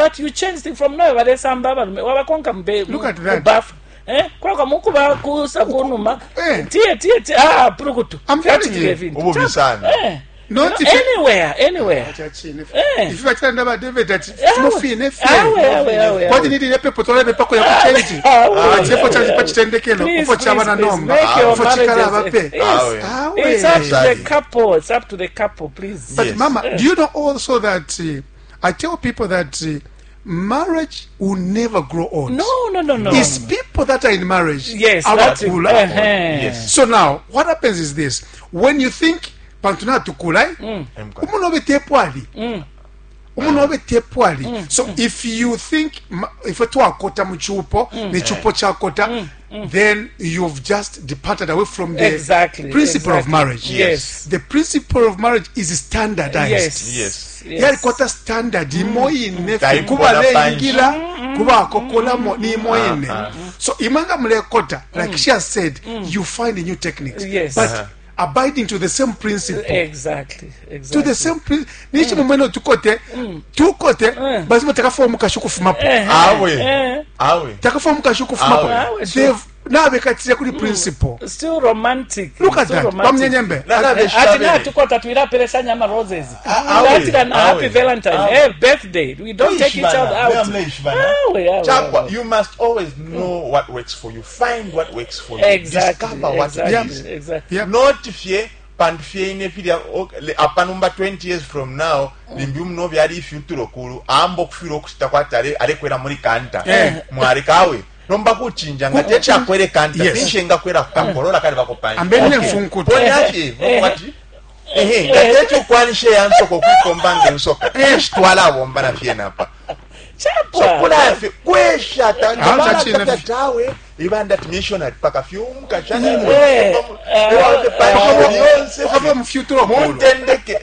that you change things from nowhere balesamba abalume wabakonka mbe Look at that. bafu eh kwakwa mukuba kusa kunuma Eh. tiye tiye tiye ah purukutu I'm telling you. Ububi sana. eh Not you know, anywhere anywhere Chachine. Eh. Ifi bachilanda ba David ati Awe. mufine fye. Awe, awe, awe, Kwati awe. nili nepepo twala pako ya kuchange. Awe, Achepo awe, cha awe. pachitendekelo Please, upo chaba na please, please, nomba. make your Upo chikala marriages- bape. Yes. Awe. Awe. It's up to the Exactly. couple. It's up to the couple, please. But Yes. mama, do you know also that I tell people that marriage will never grow old. No, no, no, no. It's people that are in marriage. Yes, that's it. abakula. Uh-huh. Yes. So now, what happens is this: when you think pantu natukula, umunobe tepwali. Umunobe tepwali. So if you think if twakota mu chupo, ne chupo chakota, then you've just departed away from the Exactly, principle of exactly. marriage. Yes. The principle of marriage is standardized. Yes. Yes. Yes. Yalikwata standard imo ine fye Taikona kuba leingila Mm. kuba akokolamo ni imo ine so imanga mulekota like she has said, you find new techniques, Yes. but abiding to the same principle, Exactly. Exactly. to the same principle nichi mumwene tukote tukote basimo takafa mukashi kufumapo Awe. Eh. Awe. takafa mukashi kufumapo. Awe. They've nabekatira kuli principle. Still romantic. Look at Still that. romantic. Bamunyenyembe. Na- na- Ati Awe. natukota twilapelesanya ama roses. Awe. Awe. Happy Awe. Valentine. Awe. Eh, birthday. We don't take each other out. Awe, awe, Chapwa, awe. you must always know what works for you. Find what works for you. Exactly. Discover what exactly. it is. Exactly. Yeah. Not fye pantu fye ine filya apanumba 20 years from now limbi umuno byali ifyutulo kulu amba okufira okusita kwati alekwera muri kanta Eh. mwarekawe nomba kuchinja nga techakwere kanta Yes. pinshe ngakwera kukakolola kali bakopanja Ambene mfunkuta. ponyafye kwati ehe nga techokwanishe yansoka okwikomba ngensoka eshitwala na fye napa. Chapwa. So kulafe kwesha Ah, chachine. tawe ibanda missionary paka fyumuka Eh, Ukava mufyutulo kulu. mutendeke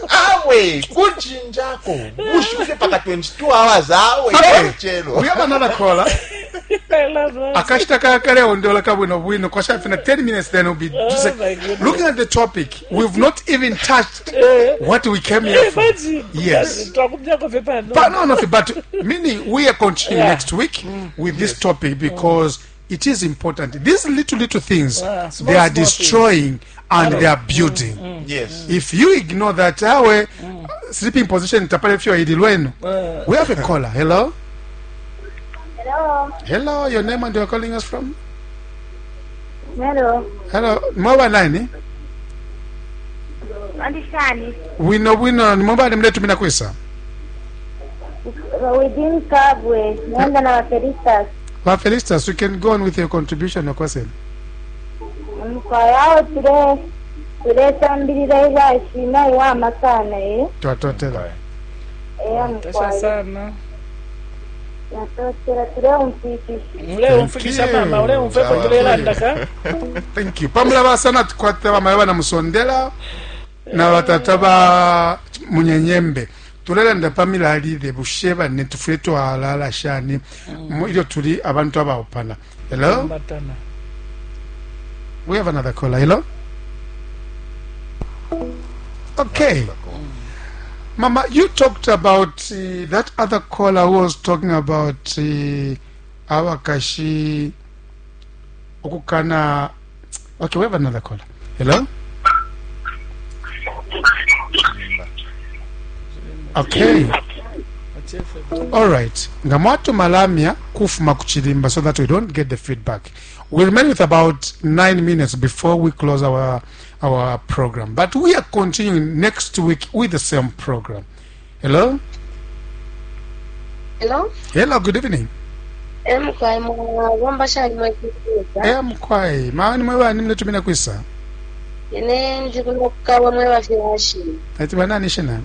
awe kuchinjako bushufe paka 22 hours awe Okay. chelo. We have another caller. I love that. Akashita kakale ondola kabwino bwino kwashafina 10 minutes, then we'll be just Oh like, my goodness. looking at the topic, we've not even touched what we came here for. Imagine. Yes. Twakumyako fye pano. But no, no, but meaning we are continuing Yeah. next week with this topic because it is important. These little little things, Ah, small, they are small destroying and they are building. Yes. If you ignore that, awe sleeping position tapale fyo idilwenu. We have a caller. Hello. Hello. Hello, your name and you're calling us from? Hello. Hello, mwaba nani? Andishani. Wino wino ni mwaba ni mletu kwisa. Within Kabwe. Nenda na Wafelistas. Ba Felicitas, you can go on with your contribution or question. Mkwa yao tule tulesambirira ilashina iwama sana eh. Twatotela. Eh Tasha mkwa. sana. Natotela tule umfikisha. Ule umfikisha Thank you. mama, ule umfepo Sawa. tulelandaka. Thank you. Pamula basana tukwata bamaya na musondela na batata ba munyenyembe. Tulelanda pamilalile busheba ne tufule twalala shani ilyo tuli abantu abaupana. Hello? Batana. We have another caller. Hello? Okay. Mama, you talked about that other caller who was talking about abakashi okukana. Okay, we have another caller. Hello? Okay. All right. Ngamwatu malamia kufuma kuchilimba so that we don't get the feedback. We remain with about 9 minutes before we close our program. But we are continuing next week with the same program. Hello? Hello? Hello, good evening. Emkwai mwabomba shali mwekikuza. Eh mkwai, maani mwewa ni mletumina kwisa. Ine ndikuno kukawa mwe bafyashi. Ati banani shina?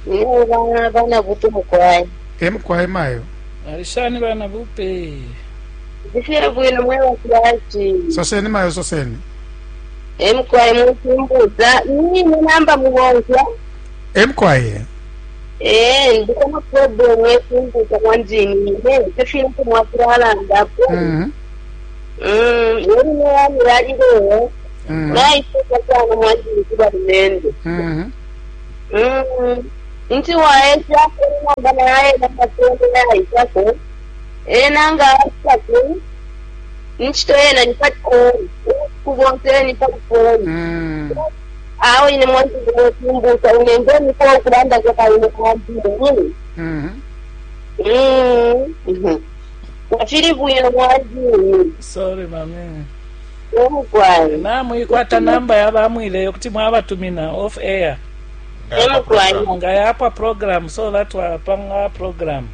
Nine bana bana bupe mukwai. Eh mkwai mayo. Alishani bana bupe. Ndifye bwino mwe bafyashi. Soseni mayo soseni. Emkwai mukumbuza. Nine namba mubonzya. Eh mkwai. Eh, ndikona problem yekumbuza kwanjini. Ine tefile kumwakiralandapo. Mhm. Yeri neyani yalileyo. Mhm. Naiseka sana mwanjini kuba lumende. Mhm. Nti waesha ena nga naena matolo yaisako ena nga asako ncito ena ni pali koi kubonse ni pali koi. Awe ine mwanzi kumbusa unende niko kulanda kwa kaine mwandini. Wafiri bwino mwandini. Sorry mami. Emukwai. Namwikwata namba yabamwile yokuti mwabatumina off air. Emukwai. Ngayapa program so that wapanga program.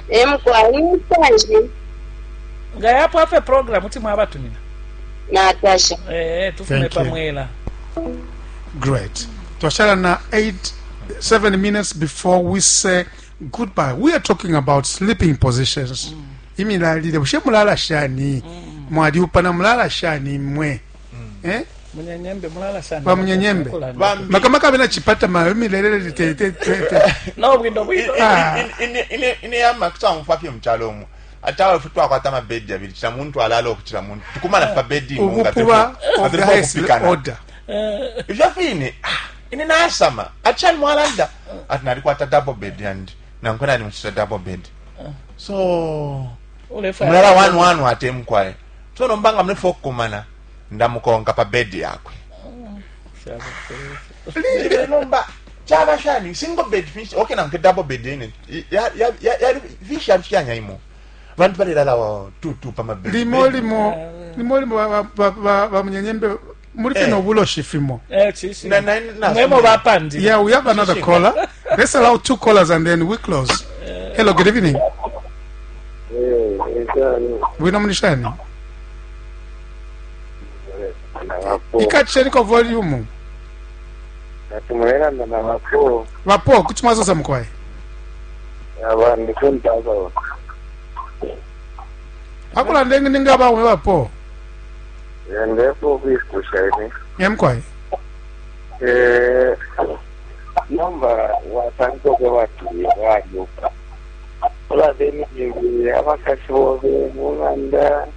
Emukwai nisanji. Ngayapa afe program kuti mwabatumina. Natasha. Eh, tufume Thank you. pamwela. Great. Twashala na 8 7 minutes before we say goodbye. We are talking about sleeping positions. Imilalile bushe mulala shani? Mwaliupana mulala shani mwe? Eh? Munyenyembe mulala shani. Ba munyenyembe. Kulanda. Bambi. Makamaka bena chipata ma imilelele te te te. te. No bwino bwino. Ah. Ine yama kusamufwa fye mukyalo omwo ate awe ffe twakwata amabedi abiri kira muntu alala okukira muntu tukumana fa bedi imu nga Ubukuba of the highest okupikana order. Ifyo fine ine nasama ati shani mwalanda ati nalikwata double bed and nankwe nali muchita double bed so Ulefa. mulala wanu wanu ate mukwaye so nombanga mulefa okukumana ndamukonka pa bedi yakwe nomba chaba shani single bed fish okay nanke double bed ine yali fish yali fyanya imo bantu balelala wa tu tu pa mabedi Limo limo limo limo ba ba ba, ba munyenyembe muri Eh. fino obuloshi fimo. Eh, chishi. Na- na- na- Mwemo bapandi. Yeah, we have another caller. Let's allow two callers and then we close. Hello, good evening. Bwino mulishani? Ikacheniko volume. Tumulerana na bapo Vapo kuti mwazosa mukwaye. abantu kuntaba Akula ndenge ninga bamwe vapo. ndepo kwikusha ine Nyamkwaye. eh namba wasanze bati bayoka urabe ni abakashi bobe munganda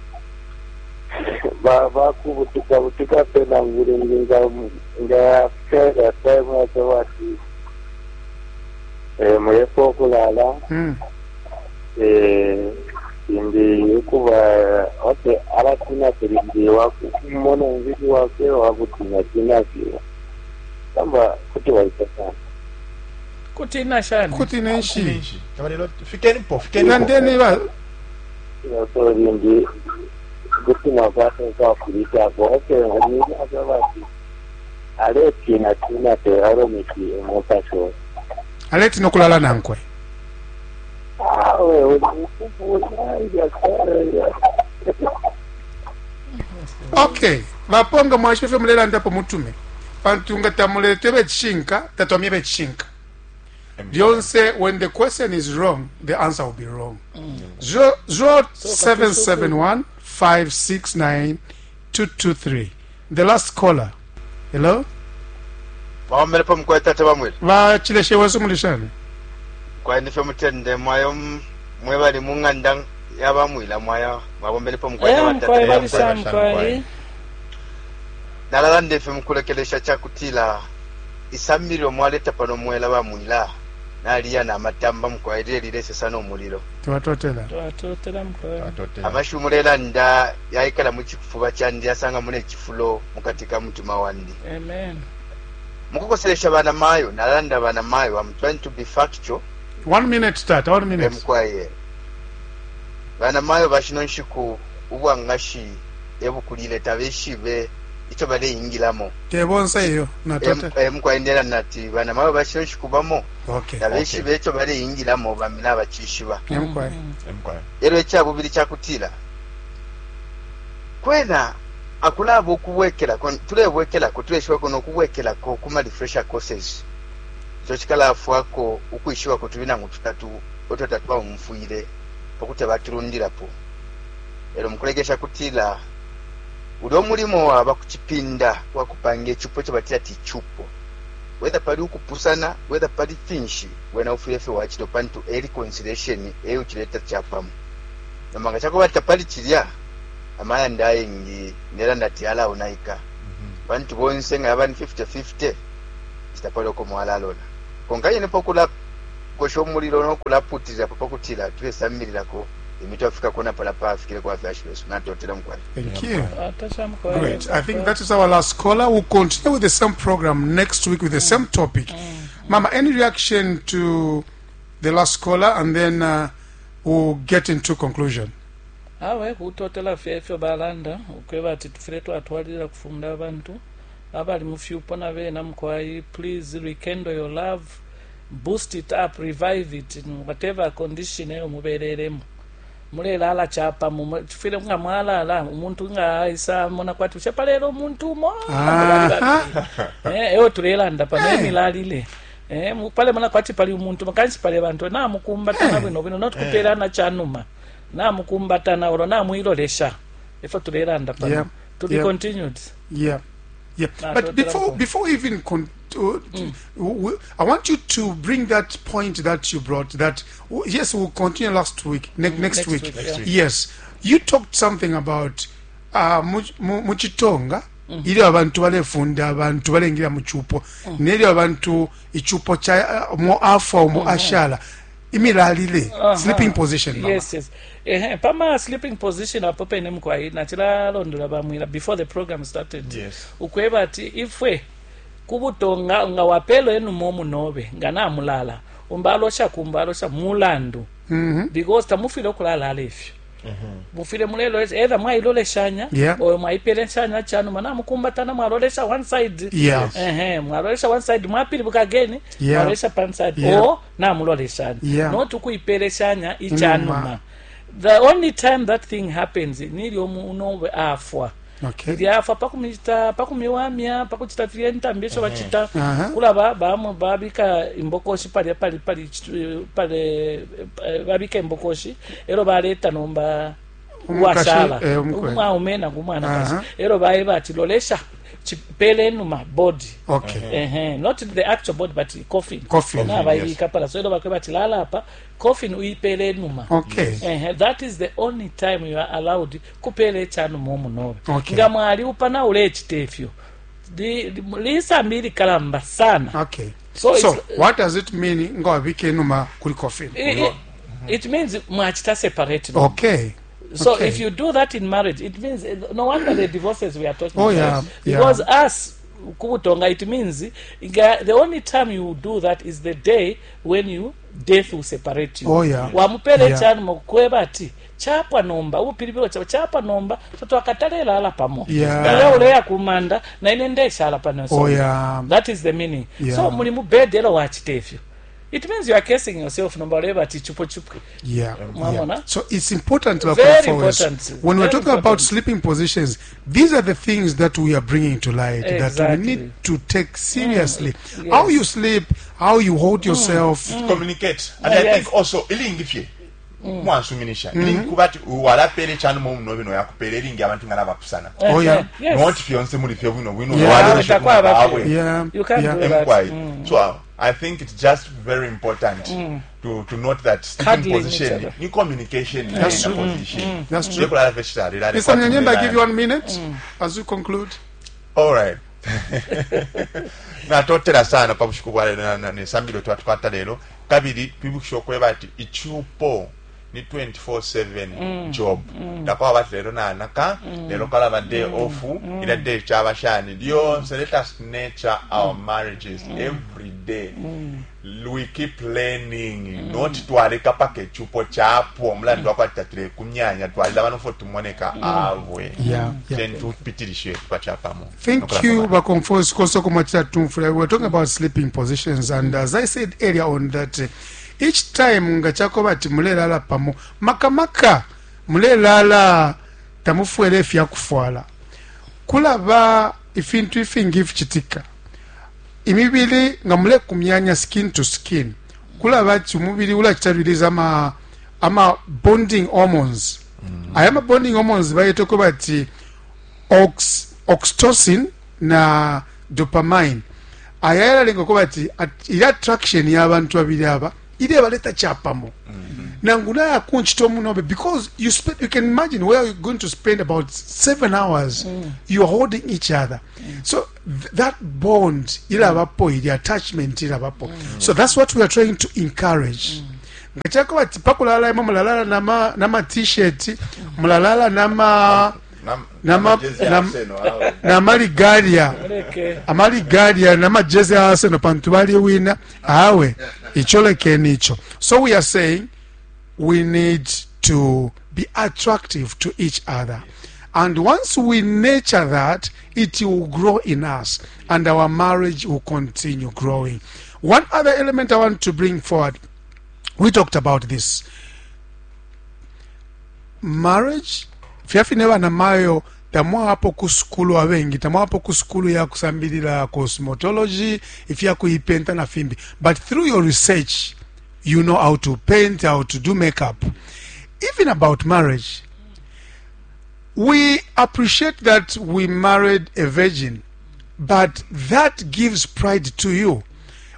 bakubutuka butuka pena ngure nga nga fera time bati eh mulepo kulala eh indi kuba ote alatina tulindi wakumona mziki wake wakutina tina kamba kuti waita sana Kutina shani. Kuti nenshi. Nenshi. Kabalelo fikeni po fikeni po Nandeni ba so lindi kuti makwata kwakulitako ote akabati aletina tina te aromiti omukasho aleti nokulala nankwe. awe ukufuta ibyakare Okay. Vaponga mwashefe mulela ndapo mutume. Pantu nga tamulete bechinka, tatwamye bechinka. Lyonse when the question is wrong, the answer will be wrong. 0771 569 223. The last caller. Hello? Baomelepo mukwaye tata bamwele Vachileshe wesu mulishani. kwaye nife mutende mwayo mwe bali mung'anda yabamwila mwaya mwabombelepo mukwaye Eh, na mukwaye batata balisha mukwaye. nalala ndefe mukulekelesha chakutila isamililo mwaleta pano mwela bamwila naliya namatamba mukwaye lile lilesesa n'omuliro Tiwatotela. Twatotela mukwaye. amashu mulelanda yaikala muchifuba chandi yasanga mune chifulo mukati ka mutima wandi Amen. mukukoselesha bana mayo nalanda bana mayo I'm trying to be factual 1 minute tata, 1 minute. emukwaye bana mayo bashino nshiku ubwangashi ebukulile tabeshibe icho baleyingilamo Tebonse iyo natotela. emukwaye ndela nati bana mayo bashino nshiku bamo Okay. tabeshibe icho baleyingilamo bamina abachishiba Nyamkwaye. Mukwaye. ero ekyabubiri kyakutila kwena akulaba okubwekerako tulebwekerako tuleshibwako nokubwekerako kuma refresher courses icho kikalafwako ukwishibako tuli nangu tutatu otwatatu bamumfwire pakuti batulundirapo ero mukulegesha kutila uli omulimo waba kuchipinda wakupanga echupo ekyo batira ti chupo whether pali ukupusana whether pali finshi wena ufwire fe wachilo pantu e reconciliation euchileta chapamo nomanga chakuba tapali chilya amayanda ayengi nera ndati alaonaika bantu bonse nga yaba ni 50-50 chitapali oko mwalalona. Konka yene pa kulakosha umulilo no kulaputilila pa kutila tulesambililako limbi twafikako na palya pafikileko abafyashi besu. Natotela mukwai. Thank you. Great. I think that is our last caller. We'll continue with the same program next week with the same topic. Mama, any reaction to the last caller and then uh, we'll get into conclusion. Awe kutotela fye ifyo balanda ukweba ati tufwile twatwalilila kufunda abantu abali mu fyupo na bena mukwai please rekindle your love boost it up revive it in whatever condition eyo mubelelemo mulelala chapamo tufwile nga mwalala umuntu nga aisa mona kwati bushe palelo umuntu umo eh eyo tulelanda pano eh. emilalile eh pale mona kwati pali umuntu kanshi pali bantu namukumbatana eh. bwino bwino not kupelana chanuma namukumbatana olo namwilolesha efo tulelanda pano yeah. to be yeah. continued yeah Yeah, but before before even con- mm. I want you to bring that point that you brought. That yes, we'll continue last week, ne- mm, next, next week. week. Next week. Yes, you talked something about uh, muchitonga mm. ilyo abantu balefunda abantu balengila mu chupo mm. nelyo abantu ichupo cha uh, mo afwa umo mm. ashala imilalile uh -huh. sleeping position mama. yes yes ehe pama sleeping position apo pene mukwai nachilalondola bamwila before the program started yes. ukweba ati ifwe kubutonga nga wapelo enumo munobe nga namulala umba alosha kumba alosha mulandu mm -hmm. because tamufile okulalala ifyo mm-hmm. mufile mulelolesha either mwailoleshanya yeah. or mwaipeleshanya chanuma namukumbatana mwalolesha one side yeah. ehe mwalolesha one side mwapilibuka again yeah. mwalolesha pan side yeah. or namuloleshanya yeah. not ukuipeleshanya ichanuma the only time that thing happens nilyo unobe afwa okay. ilyafa pakumita pakumiwamya pakuchita filya intambi isho bachita uh -huh. kulaba bamwe babika imbokoshi palya pali pali pale eh, babika imbokoshi elo baleta nomba uwashala eh, umwaume nangu umwanakashi uh -huh. elo baeba ati lolesha chipele enuma body okay. uh -huh. not the actual body but coffin coffin na baibika pala so elo bakweba ati lala apa coffin uipele enuma okay. uh -huh. that is the only time you are allowed kupela echanuma omunobe okay. nga mwali upana ulechita ifyo lisambi likalamba sana okay. so, so what does it mean nga wabika enuma kuli coffin it, it, it means mwachita separate okay so okay. if you do that in marriage it means no wonder the divorces we are talking oh, about yeah, because yeah. us kubutonga it means the only time you do that is the day when you death will separate you oh, yeah. wamupele yeah. chanuma kukweba ati chapwa nomba ubupilibilo chapa chapwa nomba tatwakatalelala pamo yeah. iwe uleya kumanda na ine ndeshala pano oh, yeah. that is the meaning yeah. so muli mu bed elo wachita ifyo it means you are cursing yourself nomba uleba ati chupo chupwe yeah, Mwamona? yeah. So it's important Very important. When we're Very talking about important. sleeping positions, these are the things that we are bringing to light that we Exactly. need to take seriously. Mm, How yes. you sleep, how you hold yourself. Communicate. And I Yes. think also ilingi fye mwansuminisha ilingi kuba ati walapele chanuma omunobe noyakupela ilingi abantu nga nabapusana Oh, yeah. Yes. not fyonse muli fye bwino bwino Yeah. walolesha Takwaba kumababwe. fye. Yeah. You can't yeah. do that. Mkwai. Mm. So uh, I think it's just very important to, to note that sleeping Cuddling each position other. ni communication That's in true. position. That's true. Tekulala fye chitalilale Mr. Nyanyemba, I give you one minute as we conclude. All right. natotela sana pa bushiku bwa lero nesambilo twatukwata lero kabili twibukisha okweba ati ichupo ni 24/7 job ndakwaba bati lero nanaka lero kalaba day off ila day chaba shani lyonse let us nurture our marriages every day we keep learning not twaleka paka echupo chapwa omulandu wakwati tatule kumyanya twalila bano fo tumoneka abwe Yeah, yeah. then tupitilishe twachapamo Thank you, Bakomfos Kosokomachita Tumfula. We were talking about sleeping positions, and as I said earlier on, that uh, each time nga chakoba ati mulelala pamo makamaka mulelala tamufwele ifyakufwala kulaba ifintu ifingi ifichitika imibili nga mulekumyanya skin to skin kulaba ati umubili ulachita release ama ama bonding hormones mm. aya ma bonding hormones bayeteko bati ox, oxytocin na dopamine aya yalalenga kuba ati ili attraction y'abantu babiri aba irebaleta chapamo mm -hmm. Nangu naya kunchita omunobe because you spend, you can imagine where you're going to spend about 7 hours. You're holding each other, so that bond ilabapo, the attachment ilabapo. So that's what we are trying to encourage. Nga chakuba ati pakulala imwe mulalala nama T-shirt, mulalala nama namaligalia. Muleke. Amaligalia namajezi a Arsenal pantu baliwina awe icho lekeni icho. So we are saying we need to be attractive to each other, and once we nurture that, it will grow in us and our marriage will continue growing. One other element I want to bring forward, we talked about this marriage fyafine banamayo tamwapo ku sukulu, abengi tamwapo ku sukulu ya kusambilila cosmetology, ifya kuipenta na fimbi, but through your research you know how to paint, how to do makeup. Even about marriage, we appreciate that we married a virgin, but that gives pride to you.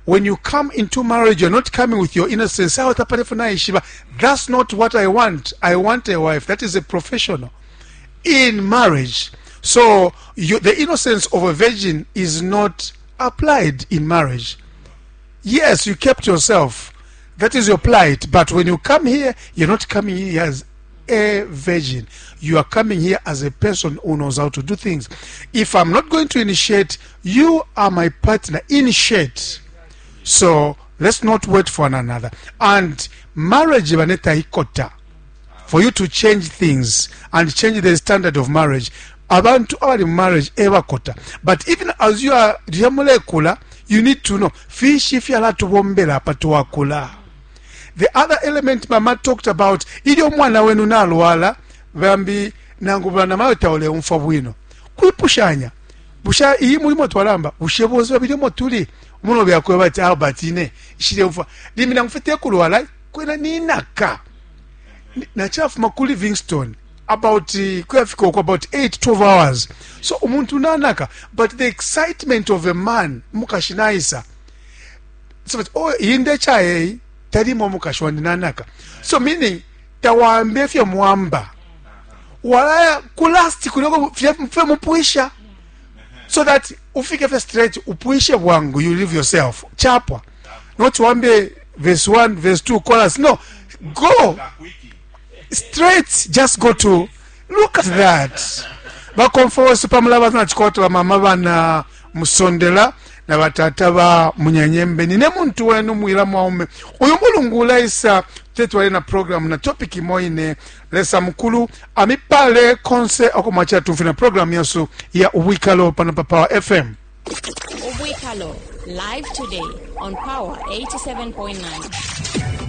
When you come into marriage, you're not coming with your innocence. "Ah, utapata naishiba." That's not what I want. I want a wife that is a professional in marriage. So the innocence of a virgin is not applied in marriage. Yes, you kept yourself, that is your plight, but when you come here, you're not coming here as a virgin. You are coming here as a person who knows how to do things. If I'm not going to initiate, you are my partner. Initiate. So let's not wait for one another. And marriage baneta ikota for you to change things and change the standard of marriage. Abantu abali mu marriage ebakota, but even as you are lyamulekula, you need to know fishi fyalatubombela apa twakula. The other element mama talked about, ilyo umwana wenu nalwala, bambi nangu banamayo tauleumfwa bwino, kwipushanya busha iyi mulimo twalamba bushe bonse babili tuli umuno byakweba bati Albert ine ishileumfwa limbi nangu fye kulwala kwena ninaka nachafuma ku Livingstone about kuyafika uko about 8 12 hours, so umuntu nanaka, but the excitement of a man mukashi naisa, so but, oh, iyi ndechayeyi talimo mukashi wandi nanaka, so meaning tawambe fye mwamba walaya kulasti kuloko fye mupwisha so that ufike fye straight upwishe bwangu. You leave yourself chapwa, not wambe verse 1, verse 2, chorus. No, go straight, just go to look at that. Bakomfowesi pamulaba na chikoto bamama bana musondela na batata ba munyanyembe nine muntu wenu mwila mwaume uyu mulungu ulaisa tetwale na program na topic imoine. Lesa mukulu amipale konse okomwacha tumfi na program yasu ya Ubwikalo pano pa Power FM. Ubwikalo, live today on Power 87.9.